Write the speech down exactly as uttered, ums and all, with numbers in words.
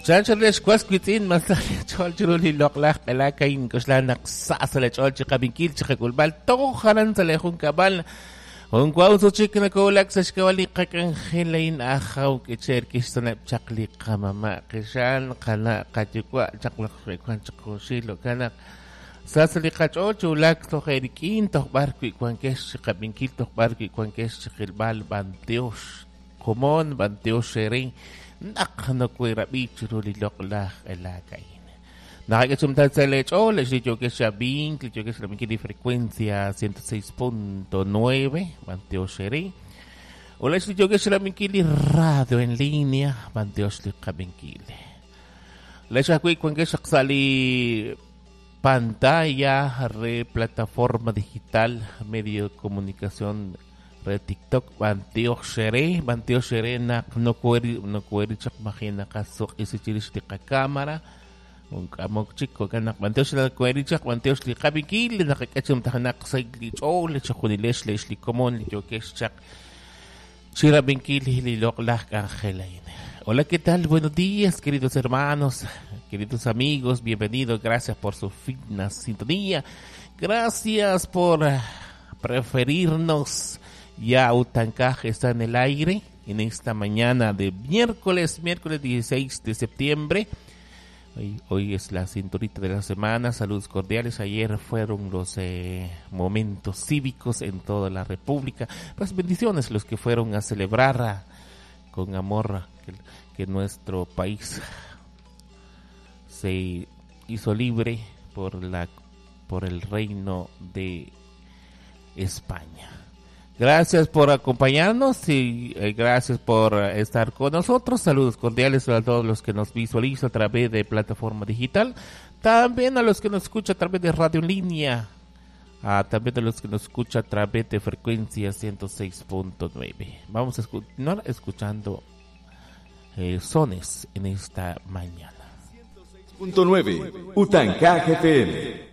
Chancho lex was witz'in mas ch'ol chiru li loq'laj q'elak ayn k'oxla naq sa sa le ch'ol chiqab'inkil chiqak'ulb'al toj jalan sa le junkab'al. Un guauzo chik nakolak sa xkawal li qak'anjel ayn ajaw k'icher kixsaneb' chaq li qamama' qixan qana' qayuwa' chaq laj wan chaq junxil jo'kan naq sa sa li qach'ool chulak toj erik'in toj b'ar wi' wankex chiqab'inkil toj b'ar wi' wankex chiqilb'al b'antiox komon b'antiox xerin naq nokuerab'i chiru li loq'laj q'elak ayn. Nakakachumtal sa lech'ool, li yokex xab'ink, li yokex xab'inkil li frecuencia ciento seis punto nueve, b'antiox xerin. O li yokex xab'inkil li radio en línea, b'antiox li qab'inkil. Lex ajwi' wankex sa li pantalla re plataforma digital, medio de comunicación re TikTok, b'antiox xere, b'antiox xere naq nokueri nokueri chaq majina qasuq isichirix li qakámara. Un k'amok chik jo'kan naq b'antiox la kueri chaq b'antiox li qab'inkil naqak'achum tajnaq sa li ch'ool chajunilex lex li komon li yokex chaq chirab'inkil li loq'laj k'anjel ayn. Hola, ¿qué tal? Buenos días, queridos hermanos, queridos amigos, bienvenidos, gracias por su fina sintonía, gracias por preferirnos. Ya Utankaj está en el aire en esta mañana de miércoles, miércoles dieciséis de septiembre. Hoy, hoy es la cinturita de la semana, saludos cordiales. Ayer fueron los eh, momentos cívicos en toda la República. Pues bendiciones los que fueron a celebrar a, con amor que, que nuestro país se hizo libre por la, por el reino de España. Gracias por acompañarnos y eh, gracias por estar con nosotros. Saludos cordiales a todos los que nos visualizan a través de plataforma digital. También a los que nos escuchan a través de radio en línea. Ah, también a los que nos escuchan a través de frecuencia ciento seis punto nueve. Vamos a continuar escuchando eh, sones en esta mañana. ciento seis punto nueve Utankaj F M.